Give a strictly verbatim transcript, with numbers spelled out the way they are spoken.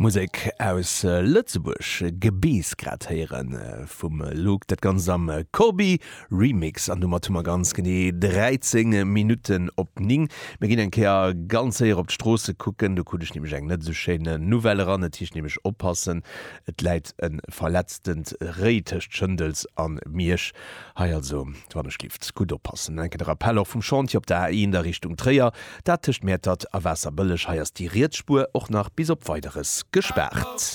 Musek aus Lëtzebuerg, Gebeess grad héieren vum Luke, dat Ganzt am Corbi Remix. An domat hu mer ganz genee dräizéng Minutten op néng. Mir ginn eng Kéier ganz séier op d'Stroosse kucken, do krut ech nämlech eng net esou schéin Nouvelle eran. Et heescht nämlech oppassen, et läit e verletztent Réi tëscht Schëndels a Miersch. Hei also, wann ech gelift, gutt oppassen. An eng Kéier de Rappel och vum Chantier op der A eent a Richtung Tréier, dat tëscht Mäertert a Waasserbëlleg. Hei ass déi riets Spuer och nach bis op Weideres gespaart.